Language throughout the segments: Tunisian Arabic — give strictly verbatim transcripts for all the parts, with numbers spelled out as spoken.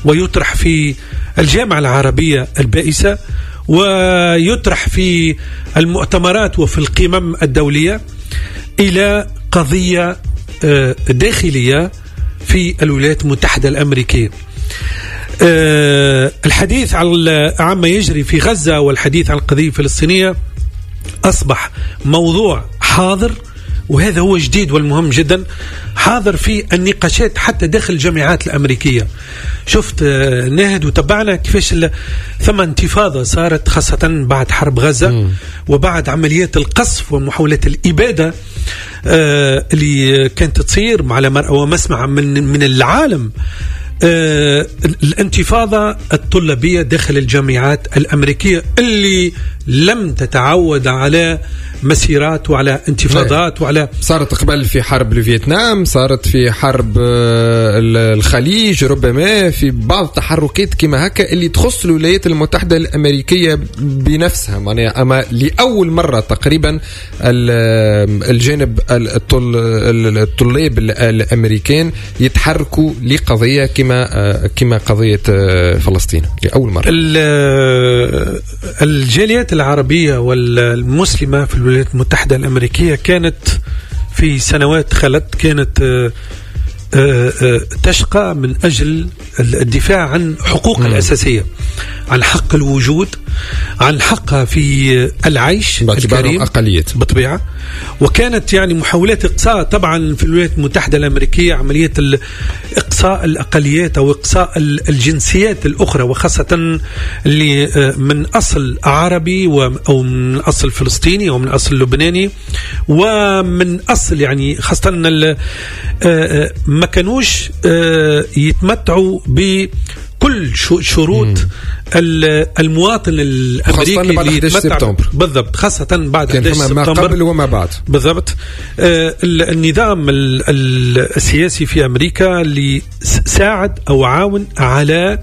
ويطرح في الجامعة العربية البائسة، ويطرح في المؤتمرات وفي القمم الدولية، إلى قضية داخلية في الولايات المتحدة الأمريكية. الحديث على عما يجري في غزة والحديث عن القضية الفلسطينية أصبح موضوع حاضر، وهذا هو جديد والمهم جدا، حاضر في النقاشات حتى داخل الجامعات الأمريكية. شفت ناهد وتبعنا كيفاش ثم انتفاضة صارت خاصة بعد حرب غزة م. وبعد عمليات القصف ومحاولات الإبادة آه اللي كانت تصير على مرأى ومسمع من من العالم. آه الانتفاضة الطلابية داخل الجامعات الأمريكية اللي لم تتعود على مسيرات وعلى انتفاضات وعلى صارت قبل في حرب الفيتنام، صارت في حرب الخليج، ربما في بعض التحركات كما هكا اللي تخص الولايات المتحدة الأمريكية بنفسها معناها. أما لأول مرة تقريبا الجانب الطلاب الأمريكان يتحركوا لقضية كما كما قضية فلسطين لأول مرة. الجاليات العربية والمسلمة في الولايات المتحدة الأمريكية كانت في سنوات خلت كانت تشقى من أجل الدفاع عن حقوقها الأساسية، عن حق الوجود، عن حقها في العيش الكريم أقليات بالطبيعة. وكانت يعني محاولات إقصاء طبعا في الولايات المتحدة الأمريكية، عملية إقصاء الأقليات أو إقصاء الجنسيات الأخرى، وخاصة اللي من أصل عربي أو من أصل فلسطيني أو من أصل لبناني ومن أصل يعني خاصة ما كانوش يتمتعوا ب كل شروط المواطن الأمريكي خاصة بعد أحد عشر سبتمبر. بالضبط، خاصة بعد أحد عشر سبتمبر، ما قبل وما بعد. بالضبط. آه النظام السياسي في أمريكا اللي ساعد أو عاون على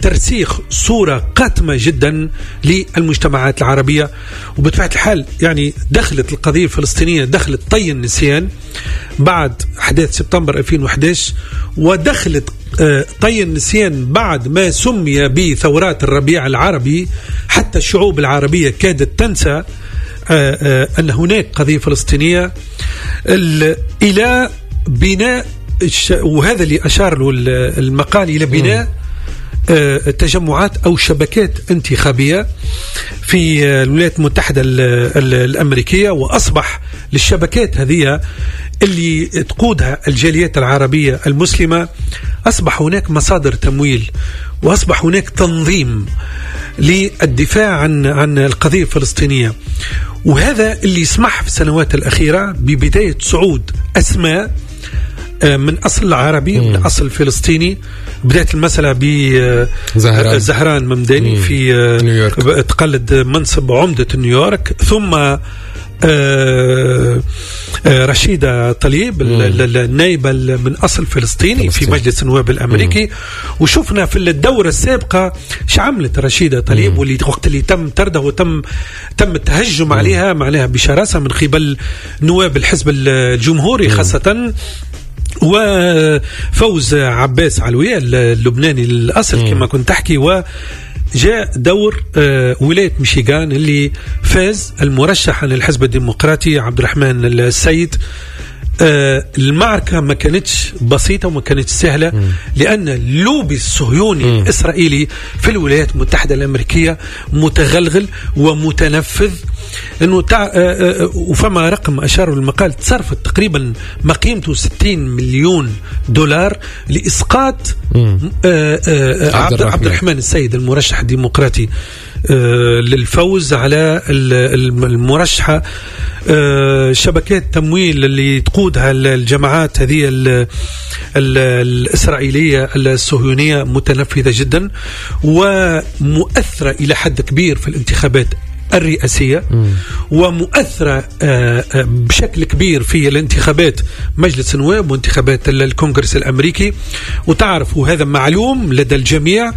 ترسيخ صورة قاتمة جدا للمجتمعات العربية، وبطبيعة الحال يعني دخلت القضية الفلسطينية، دخلت طي النسيان بعد أحداث سبتمبر ألفين وأحد عشر، ودخلت طي النسيان بعد ما سمي بثورات الربيع العربي. حتى الشعوب العربية كادت تنسى أن هناك قضية فلسطينية، إلى بناء، وهذا اللي أشار له المقال، إلى بناء تجمعات أو شبكات انتخابية في الولايات المتحدة الأمريكية. وأصبح للشبكات هذه اللي تقودها الجاليات العربية المسلمة أصبح هناك مصادر تمويل، وأصبح هناك تنظيم للدفاع عن عن القضية الفلسطينية. وهذا اللي سمح في السنوات الأخيرة ببداية صعود أسماء من أصل عربي، من أصل فلسطيني. بدأت المسألة بزهران زهران ممداني في نيويورك، تقلد منصب عمدة نيويورك، ثم رشيدة طليب النائبة من أصل فلسطيني في مجلس النواب الأمريكي. مم. وشفنا في الدورة السابقة شعملت رشيدة طليب، واللي وقت اللي تم طردها وتم تم التهجم عليها معناها بشراسة من قبل نواب الحزب الجمهوري خاصة، وفوز عباس علوية اللبناني الأصل كما كنت تحكي. و جاء دور ولاية ميشيغان اللي فاز المرشح عن الحزب الديمقراطي عبد الرحمن السيد. المعركة ما كانتش بسيطة وما كانتش سهلة، م. لأن اللوبي الصهيوني م. الإسرائيلي في الولايات المتحدة الأمريكية متغلغل ومتنفذ. إنه تع... وفما رقم أشار المقال تصرفت تقريبا ما قيمته ستين مليون دولار لإسقاط عبد, عبد الرحمن السيد المرشح الديمقراطي للفوز على المرشحة. شبكات تمويل اللي تقودها الجماعات هذه الإسرائيلية الصهيونية متنفذة جدا ومؤثرة إلى حد كبير في الانتخابات الرئاسية، ومؤثرة بشكل كبير في الانتخابات مجلس النواب وانتخابات الكونغرس الأمريكي. وتعرف وهذا معلوم لدى الجميع،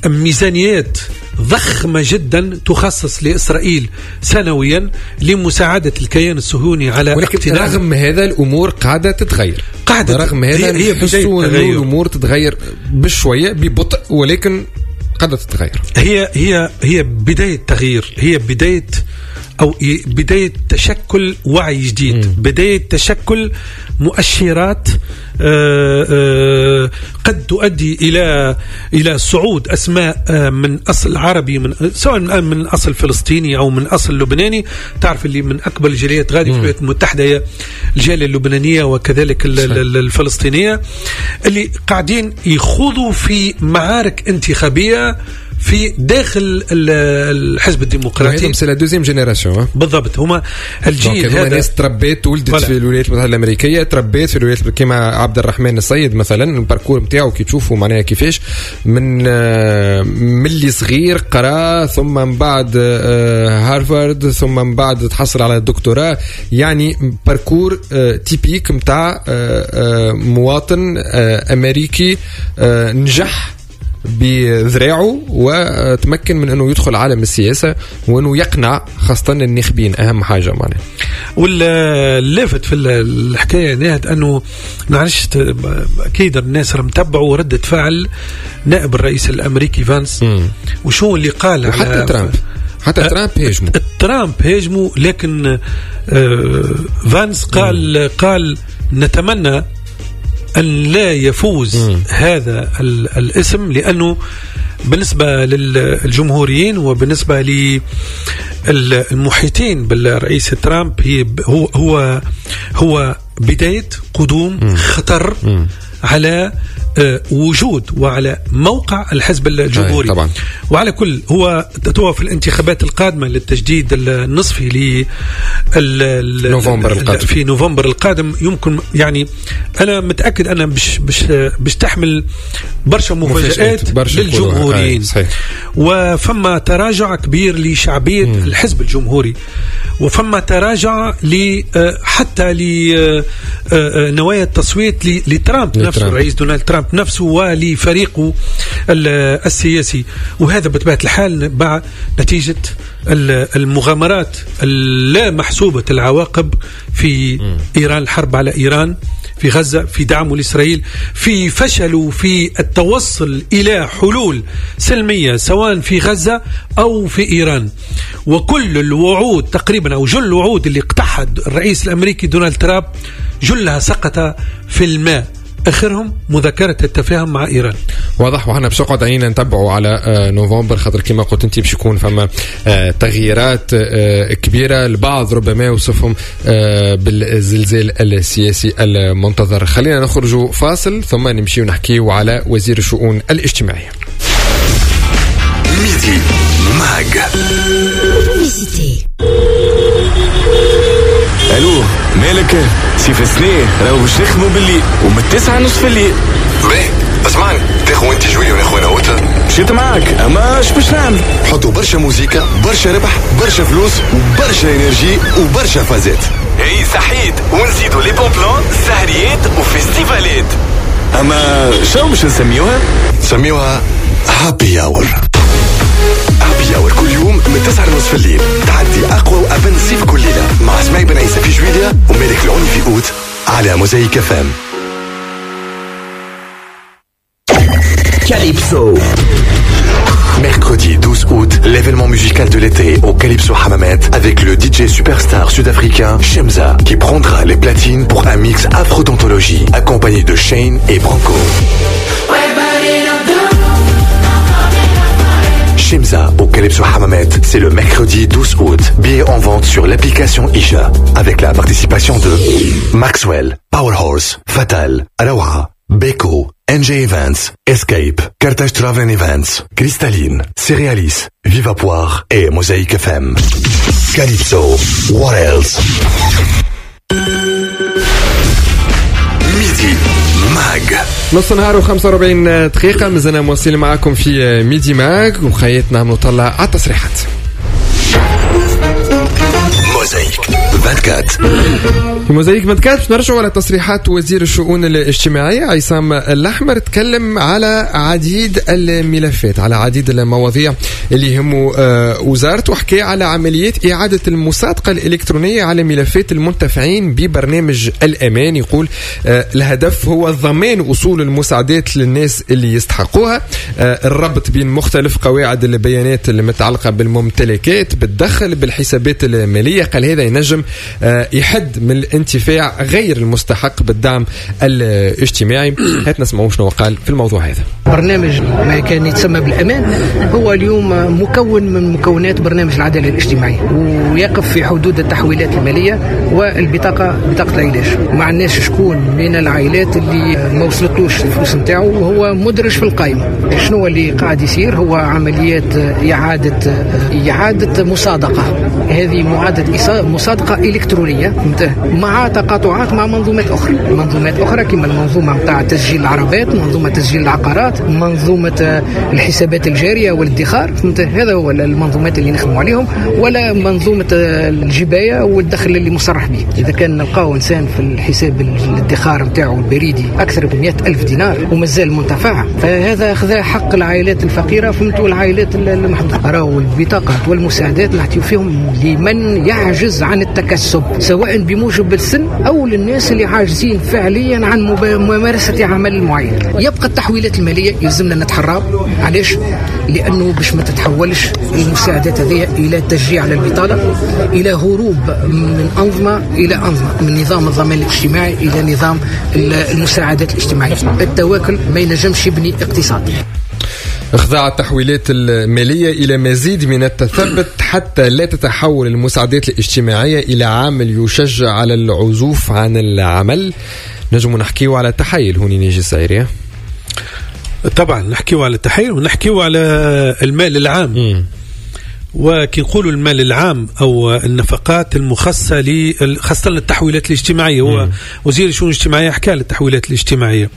ميزانيات ضخمة جدا تخصص لإسرائيل سنويا لمساعدة الكيان الصهيوني على ولكن رغم هذا الأمور قاعدة تتغير، قاعدة رغم هذا هي نحسوا الأمور تتغير بشوية ببطء، ولكن قاعدة تتغير. هي هي هي بداية تغيير، هي بداية أو بداية تشكل وعي جديد، م. بداية تشكل مؤشرات آآ آآ قد تؤدي إلى إلى صعود أسماء من أصل عربي، من سواء من أصل فلسطيني أو من أصل لبناني. تعرف اللي من أكبر الجاليات غادي في الولايات المتحدة هي الجالية اللبنانية وكذلك الفلسطينية، اللي قاعدين يخوضوا في معارك انتخابية في داخل الحزب الديمقراطي. c'est la deuxième génération بالضبط، هما الجيل هذا ناس تربيت ولدت في الولايات المتحدة الامريكية، تربيت في الولايات كما عبد الرحمن السيد مثلا، ال parcours نتاعو كي تشوفوا معناها كيفاش من من اللي صغير قرا، ثم من بعد هارفارد، ثم من بعد تحصل على الدكتوراه، يعني parcours typique نتاع مواطن امريكي نجح بذراعه وتمكن من انه يدخل عالم السياسة وانه يقنع خاصة الناخبين، اهم حاجة معناها. واللافت في الحكاية ناهد انه معلش اكيد الناس راهم تبعوا ردة فعل نائب الرئيس الامريكي فانس، مم. وشو اللي قال، وحتى ترامب، حتى ترامب هاجموا، ترامب هاجموا، لكن فانس قال مم. قال نتمنى أن لا يفوز مم. هذا الاسم، لأنه بالنسبة للجمهوريين وبالنسبة للمحيطين بالرئيس ترامب هي هو هو هو بداية قدوم مم. خطر مم. على وجود وعلى موقع الحزب الجمهوري. طبعا. وعلى كل هو تتوى في الانتخابات القادمة للتجديد النصفي ل نوفمبر القادم، في نوفمبر القادم يمكن، يعني أنا متأكد أنا بش بش بش تحمل برشا مفاجآت برشا للجمهوريين. وفما تراجع كبير لشعبية مم. الحزب الجمهوري، وفما تراجع ل حتى لنوايا التصويت لترامب نفسه، الرئيس دونالد ترامب نفسه ولفريقه السياسي. وهذا بطبيعة الحال بعد نتيجة المغامرات اللا محسوبة العواقب في إيران، الحرب على إيران، في غزة، في دعمه لإسرائيل، في فشله في التوصل إلى حلول سلمية سواء في غزة أو في إيران. وكل الوعود تقريبا أو جل الوعود اللي اقتحد الرئيس الأمريكي دونالد ترامب جلها سقط في الماء، آخرهم مذكرة التفاهم مع إيران. واضح. وحنا باش نقعد عينينا نتبعوا على نوفمبر، خاطر كما قلت انت باش يكون فما تغييرات كبيرة، البعض ربما يوصفهم بالزلزال السياسي المنتظر. خلينا نخرج فاصل ثم نمشي ونحكيو على وزير الشؤون الاجتماعية. Midi Mag. الو مالك سيف السنة راهو باش نخدمو بالليل ومن التسعة نص في الليل. باهي اسمعني، تاخو انت جوية وناخو انا اوت. مشيت معاك اما اش باش نعمل؟ حطوا برشا موزيكا، برشا ربح، برشا فلوس وبرشا énergie وبرشا فازات. اي صحيت، ونزيدو les bons plans، سهريات وفيستيفالات. اما شو باش نسميوها؟ نسميوها Happy Hour. Happy Hour كل يوم من تسعة ونص في الليل، تعدي أقوى وأبن صيف كل ليلة مع اسماعيل بن عيسى في جويليا ومالك العوني في أوت على موزايك اف ام. Calypso. Mercredi douze août, l'événement musical de l'été au Calypso Hammamet avec le D J superstar sud-africain Shemza qui prendra les platines pour un mix afro d'anthologie accompagné de Shane et Branco. Shemza au Calypso Hammamet, c'est le mercredi douze août. Billets en vente sur l'application Isha avec la participation de Maxwell, Powerhorse, Fatal, Rawa, Beko, N J Events, Escape, Carthage Travel Events, Cristalline, Cerealis, Viva Poire et Mosaïque F M. Calypso, what else? Midi Mag. نص نهار وخمسة وأربعين دقيقة، مازلنا مواصلين معكم في Midi Mag وخيتنا نطلع على التصريحات. موزايك أربعة وعشرين. في موزايك أربعة وعشرين باش نرجعوا على تصريحات وزير الشؤون الاجتماعية عصام الأحمر. تكلم على عديد الملفات، على عديد المواضيع اللي يهموا آه، وزارته. حكى على عمليات إعادة المصادقة الإلكترونية على ملفات المنتفعين ببرنامج الأمان. يقول آه، الهدف هو ضمان وصول المساعدات للناس اللي يستحقوها، آه، الربط بين مختلف قواعد البيانات المتعلقة بالممتلكات، بالدخل، بالحسابات المالية. قال هذا ينجم آه، يحد من الانتفاع غير المستحق بالدعم الاجتماعي. هات نسمعوا شنو قال في الموضوع هذا. برنامج ما كان يتسمى بالأمان هو اليوم مكون من مكونات برنامج العدالة الاجتماعية، ويقف في حدود التحويلات المالية والبطاقة، بطاقة العلاج. ما عندناش شكون من العائلات اللي ما وصلتوش الفلوس نتاعو وهو مدرج في القائمة. شنو اللي قاعد يصير؟ هو عمليات إعادة إعادة مصادقة، هذه معادة مصادقة إلكترونية مع تقاطعات مع منظومات أخرى، منظومات أخرى كما المنظومة نتاع تسجيل العربات، منظومة تسجيل العقارات، منظومة الحسابات الجارية والادخار. هذا هو المنظومات اللي نخدموا عليهم، ولا منظومة الجباية والدخل اللي مصرح به. إذا كان نلقاو إنسان في الحساب الادخار نتاعو البريدي أكثر من مئة ألف دينار ومازال منتفع، فهذا خذا حق العائلات الفقيرة، فهمتوا، العائلات المحدودة. راهو البطاقات والمساعدات نعطيو فيهم لمن يعجز عن التكسب، سواء بموجب السن أو للناس اللي عاجزين فعليا عن ممارسة عمل معين. يبقى التحويلات المالية يلزمنا نتحرى. علاش؟ لأنه باش ما تتحولش المساعدات هذه إلى تشجيع على البطالة، إلى هروب من أنظمة إلى أنظمة، من نظام الضمان الاجتماعي إلى نظام المساعدات الاجتماعية. التواكل ما ينجمش يبني اقتصاد. اخضاع التحويلات المالية إلى مزيد من التثبت حتى لا تتحول المساعدات الاجتماعية إلى عامل يشجع على العزوف عن العمل. نجم نحكيه على التحايل هوني نيجي السعيرية. طبعا نحكيه على التحايل ونحكيه على المال العام. م. وكي نقولوا المال العام أو النفقات المخصصة خاصة للتحويلات الاجتماعية، هو وزير الشؤون الاجتماعية حكى للتحويلات الاجتماعية،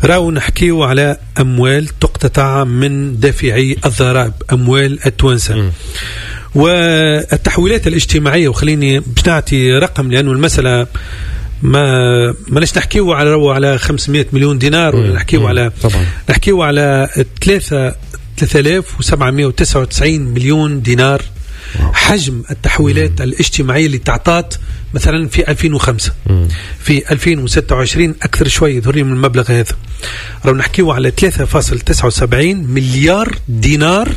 راهو نحكيو على أموال تقتطع من دافعي الضرائب، أموال التوانسة. والتحويلات الاجتماعية، وخليني باش نعطي رقم لأنه المسألة ما ماناش نحكيو على على خمسمائة مليون دينار، ولا نحكيو على نحكيو على ثلاثة ثلاثة آلاف وسبعمائة وتسعة وتسعين مليون دينار حجم التحويلات مم. الاجتماعية اللي تعطات مثلا في ألفين وخمسة. مم. في ألفين وستة وعشرين أكثر شوي يظهر لي من المبلغ هذا. راهو نحكيو على ثلاثة فاصل تسعة وسبعين مليار دينار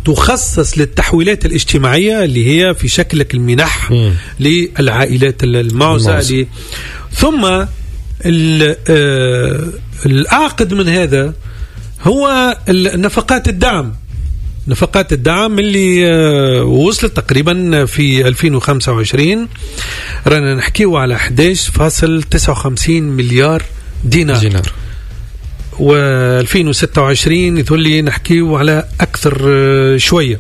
تخصص للتحويلات الاجتماعية اللي هي في شكلك المنح مم. للعائلات المعوزة. ثم الأعقد من هذا هو نفقات الدعم، نفقات الدعم اللي وصلت تقريبا في ألفين وخمسة وعشرين رانا نحكيو على أحد عشر فاصل تسعة وخمسين مليار دينار, دينار. و ألفين وستة وعشرين يقول نحكيو على أكثر شوية.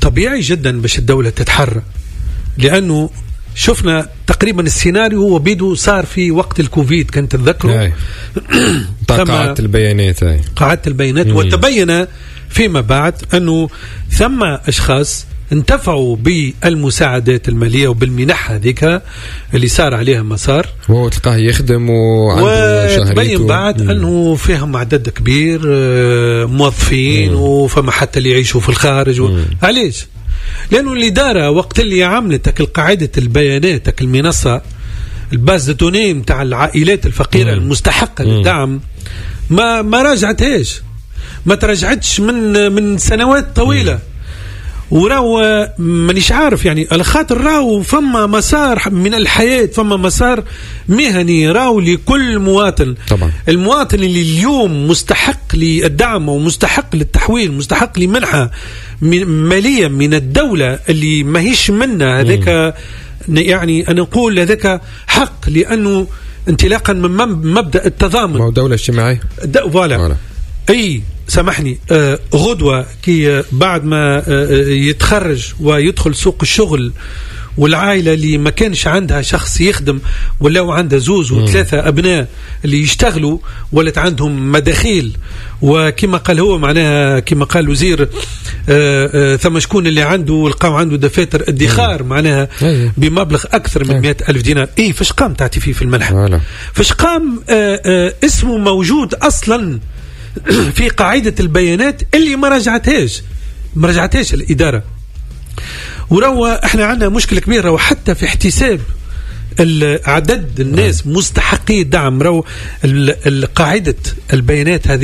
طبيعي جدا باش الدولة تتحرك، لأنه شفنا تقريبا السيناريو هو بيدو صار في وقت الكوفيد، كنت تتذكروا قاعدة البيانات، قاعدة البيانات. مم. وتبين فيما بعد أنه ثم أشخاص انتفعوا بالمساعدات المالية وبالمنح هذيك اللي صار عليها مسار، وهو تلقاه يخدم وعنده شهريته، وتبين بعد مم. أنه فيهم عدد كبير موظفين، وفما حتى اللي يعيشوا في الخارج و... علاش؟ لأنه الإدارة وقت اللي عملت القاعدة البيانات المنصة ال base de données متاع العائلات الفقيرة مم. المستحقة للدعم ما ما راجعتهاش، ما تراجعتش من من سنوات طويلة. وراو مانيش عارف يعني على خاطر راو فما مسار من الحياة، فما مسار مهني راو لكل مواطن. طبعا. المواطن اللي اليوم مستحق للدعم ومستحق للتحويل، مستحق لمنحة مالية من الدولة اللي ماهيش منا، هذاك يعني أنا نقول هذاك حق، لأنه انطلاقا من مبدأ التضامن، ما هو دولة اجتماعية. voilà. أي سامحني، آه غدوة كي بعد ما آه يتخرج ويدخل سوق الشغل، والعائلة اللي ما كانش عندها شخص يخدم ولاو عندها زوز وثلاثة أبناء اللي يشتغلوا ولت عندهم مداخيل، وكما قال هو معناها كما قال الوزير آه آه ثم شكون اللي عنده لقاو عنده دفاتر ادخار معناها بمبلغ أكثر من مئة ألف دينار. إيه فاش قام تعطي فيه في المنحة؟ فاش قام آه آه اسمه موجود أصلا في قاعدة البيانات اللي ما رجعتهاش، ما رجعتهاش الاداره. وراهو احنا عندنا مشكلة كبيرة، وحتى في احتساب عدد الناس مستحقي الدعم، راهو قاعدة البيانات هذه.